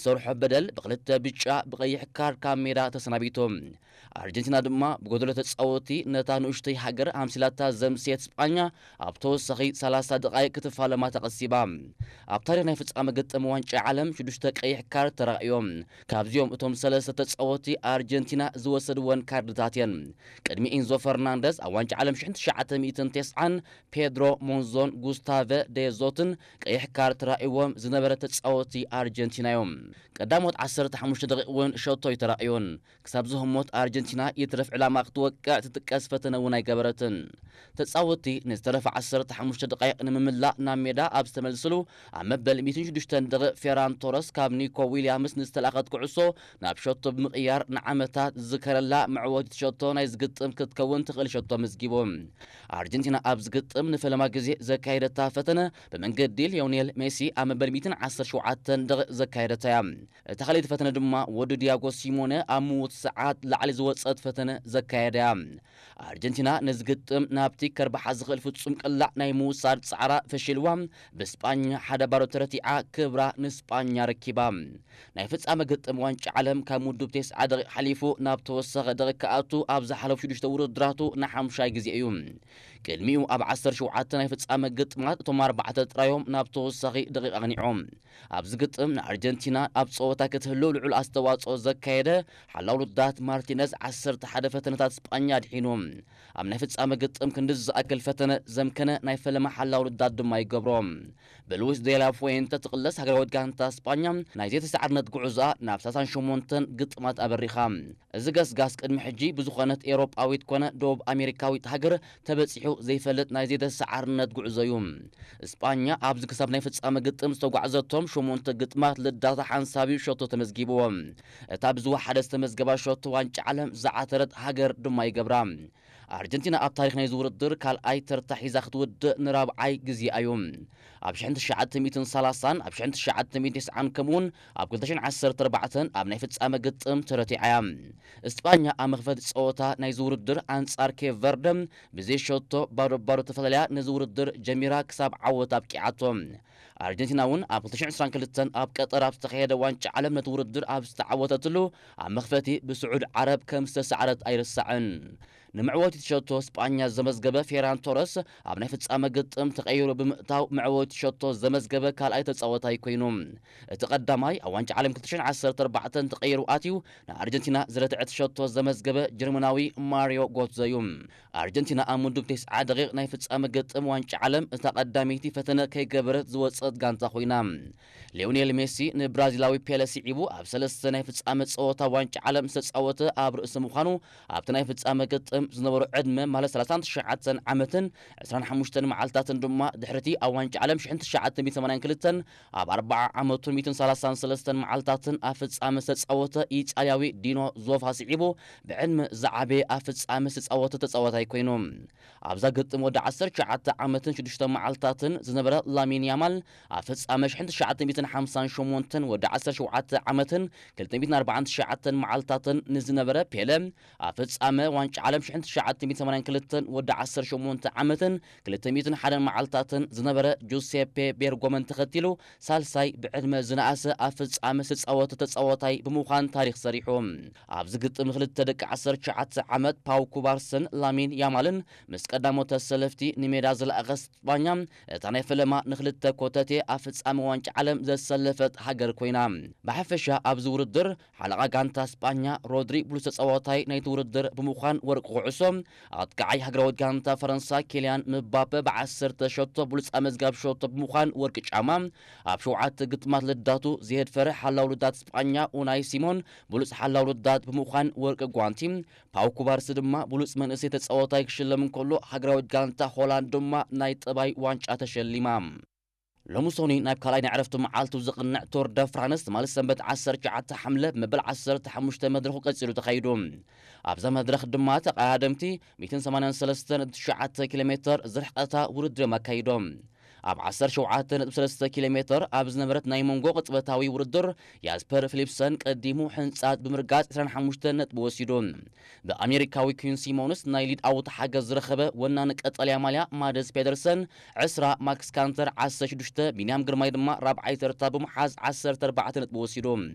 ዝተርሖ በደል ብክልተ ብጫ ብቐይሕ ካርድ ካብ ሜዳ ተሰናቢቱ። ኣርጀንቲና ድማ ብጎደሎ ተጻወቲ ነታ ንኡሽተይ ሃገር ኣምሲላታ ዘምስየት ስጳኛ ኣብ ተወሳኺ ሰላሳ ደቓይቕ ክትፋለማ ተቐሲባ። ኣብ ታሪኽ ናይ ፍጻመ ግጥም ዋንጫ ዓለም ሽዱሽተ ቀይሕ ካርድ ተራእዮም። ካብዚኦም እቶም ሰለስተ ተጻወቲ ኣርጀንቲና ዝወሰድወን ካርድታት እየን። ቅድሚ ኢንዞ ፈርናንደዝ ኣብ ዋንጫ ዓለም ሽሕን ትሽዓተ ሚእትን ተስዓን ፔድሮ ሞንዞን ጉስታቨ ደዞትን ቀይሕ ካርድ ተራእይዎም ዝነበረ ተጻወቲ ኣርጀንቲና እዮም። ቀዳሞት ዓሰርተ ሓሙሽተ ደቂቕ እውን ሸቶ ኣይተራእዮን። ክሳብ ዝህሞት ኣርጀንቲና ይትረፍ ዕላማ ክትወቅዕ ትጥቀስ ፈተነ እውን ኣይገበረትን። ተጻወቲ ንዝተረፈ ዓሰርተ ሓሙሽተ ደቃይቕ ንምምላእ ናብ ሜዳ ኣብ ዝተመልስሉ ኣብ መበል ሚእትን ሽዱሽተን ደቂቕ ፌራን ቶረስ ካብ ኒኮ ዊልያምስ ንዝተላእኸት ኩዕሶ ናብ ሸቶ ብምቕያር ንዓመታት ዝዝከረላ መዕወቲት ሸቶ ናይ ዝግጥም ክትከውን ትኽእል ሸቶ ኣመዝጊቡ። ኣርጀንቲና ኣብ ዝግጥም ንፈለማ ግዜ ዘካየደታ ፈተነ ብመንገዲ ሊዮኔል ሜሲ ኣብ መበል ሚእትን ዓሰርተ ሸውዓተን ደቂቕ ዘካየደታ እያ። እታ ካልኣይቲ ፈተነ ድማ ወዲ ዲያጎ ሲሞነ ኣብ ምዉት ሰዓት ላዕሊ ዝወጸት ፈተነ ዘካየደ እያ። ኣርጀንቲና ነዚ ግጥም ናብቲ ከርብሓ ዝኽእል ፍጹም ቅላዕ ናይ ምውሳድ ጻዕራ ፈሺልዋ፣ ብስጳኛ ሓደ ባዶ ተረቲዓ ክብራ ንስጳኛ ረኪባ። ናይ ፍጻመ ግጥም ዋንጫ ዓለም ካብ ምዱብ ተስዓ ደቂቕ ሓሊፉ ናብ ተወሳኺ ደቂቕ ክኣቱ ኣብ ዝሓለፉ ሽዱሽተ ውድድራቱ ንሓሙሻይ ግዜ እዩ። ቅድሚኡ ኣብ ዓሰርተ ሸውዓተ ናይ ፍጻመ ግጥማት እቶም ኣርባዕተ ጥራዮም ናብ ተወሳኺ ደቂቕ ኣቕኒዖም። ኣብዚ ግጥም ንኣርጀንቲና ኣብ ጸወታ ክትህሉ ልዑል ኣስተዋጽኦ ዘካየደ ሓላው ልዳት ማርቲነዝ ዓሰርተ ሓደ ፈተነታት ስጳኛ ኣድሒኑ። ኣብ ናይ ፍጻመ ግጥም ክንዲ ዝኣክል ፈተነ ዘምከነ ናይ ፈለማ ሓላው ልዳት ድማ ይገብሮ። ብሉዊስ ዴላ ፉዌንተ ትቕለስ ሃገራዊት ጋንታ ስጳኛ ናይ ዘይተሰዓርነት ጉዕዞኣ ናብ ሰላሳን ሸሞንተን ግጥማት ኣበሪኻ። እዚ ገስጋስ ቅድሚ ሕጂ ብዝኾነት ኤውሮጳዊት ኮነ ደቡብ ኣሜሪካዊት ሃገር ተበጺሑ ዘይፈልጥ ናይ ዘይተሰዓርነት ጉዕዞ እዩ። ስጳኛ ኣብዚ ክሳብ ናይ ፍጻመ ግጥም ዝተጓዕዘቶም ሸሞንተ ግጥማት ልዳታ ሓንሳብ እዩ ሸቶ ተመዝጊብዎ። እታ ብዝወሓደ ዝተመዝገባ ሸቶ ዋንጫ ዓለም ዝዓተረት ሃገር ድማ ይገብራ። ኣርጀንቲና ኣብ ታሪኽ ናይዚ ውድድር ካልኣይ ተርታ ሒዛ ክትውድእ ንራብዓይ ግዜኣ እዩ። ኣብ ሽሕን ትሽዓተ ሚእትን ሰላሳን ኣብ ሽሕን ትሽዓተ ሚእትን ተስዓን ከምኡውን ኣብ ክልተ ሽሕን ዓሰርተ ኣርባዕተን ኣብ ናይ ፍጻመ ግጥም ተረቲዓ እያ። እስጳኛ ኣብ መኽፈቲ ጸወታ ናይዚ ውድድር ኣንጻር ኬፕ ቨርደ ብዘይ ሸቶ ባዶ ባዶ ተፈላለያ ነዚ ውድድር ጀሚራ ክሳብ ዓወት ኣብቂዓቶ። ኣርጀንቲና እውን ኣብ ክልተ ሽሕን ዕስራን ክልተን ኣብ ቀጠር ኣብ ዝተኻየደ ዋንጫ ዓለም ነቲ ውድድር ኣብ ዝተዓወተትሉ ኣብ መኽፈቲ ብስዑድ ዓረብ ከም ዝተሰዓረት ኣይርሳዕን። ንመዕወቲት ሸቶ ስጳኛ ዘመዝገበ ፌራን ቶረስ ኣብ ናይ ፍጻመ ግጥም ተቐይሩ ብምእታው መዕወቲ ሸቶ ዘመዝገበ ካልኣይ ተጻወታይ ኮይኑ። እቲ ቀዳማይ ኣብ ዋንጫ ዓለም ክልተ ሽሕን ዓሰርተ ኣርባዕተን ተቐይሩ ኣትዩ ንኣርጀንቲና ዝረትዐት ሸቶ ዘመዝገበ ጀርመናዊ ማሪዮ ጎትዘ እዩ። ኣርጀንቲና ኣብ ምዱብ ተስዓ ደቂቕ ናይ ፍጻመ ግጥም ዋንጫ ዓለም እታ ቀዳመይቲ ፈተነ ከይገበረት ዝወጸት ጋንታ ኮይና። ሊዮኔል ሜሲ ንብራዚላዊ ፔለ ስዒቡ ኣብ ሰለስተ ናይ ፍጻመ ጸወታ ዋንጫ ዓለም ዝተጻወተ ኣብ ርእሲ ምዃኑ ኣብቲ ናይ ፍጻመ ግጥም ዝነበሮ ዕድመ ማለት ሰላሳን ትሽዓተን ዓመትን ዕስራን ሓሙሽተን መዓልታትን ድማ ድሕሪቲ ኣብ ዋንጫ ዓለም ሽሕን ትሽዓተ ሚእትን ሰማንያን ክልተን ኣብ ኣርባዓ ዓመቱ ሚእትን ሰላሳን ሰለስተን መዓልታትን ኣብ ፍጻመ ዝተጻወተ ኢጣልያዊ ዲኖ ዞፋ ስዒቡ ብዕድመ ዝዓበየ ኣብ ፍጻመ ዝተጻወተ ተጻዋታይ ኮይኑ። ኣብዛ ግጥም ወዲ ዓሰርተ ትሽዓተ ዓመትን ሽዱሽተ መዓልታትን ዝነበረ ላሚን ያማል ኣብ ፍጻመ ሽሕን ትሽዓተ ሚእትን ሓምሳን ሸሞንተን ወዲ ዓሰርተ ሸውዓተ ዓመትን ክልተ ሚእትን ኣርባዓን ትሽዓተን መዓልታትን ንዝነበረ ፔለ ኣብ ፍጻመ ዋንጫ ዓለም ሽሕን ትሽዓተ ሚእትን ሰማንያን ክልተን ወዲ ዓሰርተ ሸሞንተ ዓመትን ክልተ ሚእትን ሓደን መዓልታትን ዝነበረ ጁሴፔ ቤርጎመን ተኸቲሉ ሳልሳይ ብዕድመ ዝነኣሰ ኣብ ፍጻመ ዝተጻወተ ተጻዋታይ ብምዃን ታሪኽ ሰሪሑ። ኣብዚ ግጥም ክልተ ደቂ ዓሰርተ ትሽዓተ ዓመት ፓው ኩባርስን ላሚን ያማልን ምስ ቀዳሞት ተሰለፍቲ ንሜዳ ዝለኣኸ ስጳኛ እታ ናይ ፈለማ ንክልተ ኮተቴ ኣብ ፍጻመ ዋንጫ ዓለም ዘሰለፈት ሃገር ኮይና። ብሓፈሻ ኣብዚ ውድድር ሓለቓ ጋንታ ስጳኛ ሮድሪ ብሉጽ ተጻዋታይ ናይቲ ውድድር ብምዃን ወርቂ ኩዕሶ፣ ኣጥቃዓይ ሃገራዊት ጋንታ ፈረንሳ ኬልያን ምባፔ ብዓሰርተ ሸቶ ብሉጽ ኣመዝጋቢ ሸቶ ብምዃን ወርቂ ጫማ፣ ኣብ ሸውዓተ ግጥማት ልዳቱ ዘየድፈረ ሓላው ልዳት ስጳኛ ኡናይ ሲሞን ብሉጽ ሓላው ልዳት ብምዃን ወርቂ ጓንቲ፣ ፓው ኩባርሲ ድማ ብሉጽ መንእሰይ ተጻዋታይ ክሽለም እንከሎ ሃገራዊት ጋንታ ሆላንድ ድማ ናይ ጠባይ ዋንጫ ተሸሊማ። ሎሚ ሶኒ ናብ ካልኣይ ናይ ዕረፍቲ መዓልቱ ዝቕንዕ ቶር ደ ፍራንስ ትማሊ ሰንበት ዓሰርተ ትሽዓተ ሓምለ መበል ዓሰርተ ሓሙሽተ መድረኹ ቀጺሉ ተኻይዱ። ኣብዛ መድረኽ ድማ ተቐዳደምቲ ሚእትን ሰማንያን ሰለስተን ነጥቢ ትሽዓተ ኪሎ ሜተር ዝርሕቐታ ውድድር እዮም ኣካይዶም። ኣብ ዓሰርተ ሸውዓተ ነጥቢ ሰለስተ ኪሎ ሜተር ኣብ ዝነበረት ናይ መንጎ ቅጽበታዊ ውድድር ያስፐር ፊሊፕሰን ቀዲሙ ሕንጻት ብምርጋጽ ዕስራን ሓሙሽተን ነጥቢ ወሲዱ። ብኣሜሪካዊ ኪን ሲሞንስ ናይ ሊድ ኣውት ሓገዝ ዝረኸበ ወናኒ ቀጠልያ ማልያ ማደስ ፔደርሰን ዕስራ፣ ማክስ ካንተር ዓሰርተ ሽዱሽተ፣ ቢንያም ግርማይ ድማ ራብዓይ ተርታ ብምሓዝ ዓሰርተ ኣርባዕተ ነጥቢ ወሲዱ።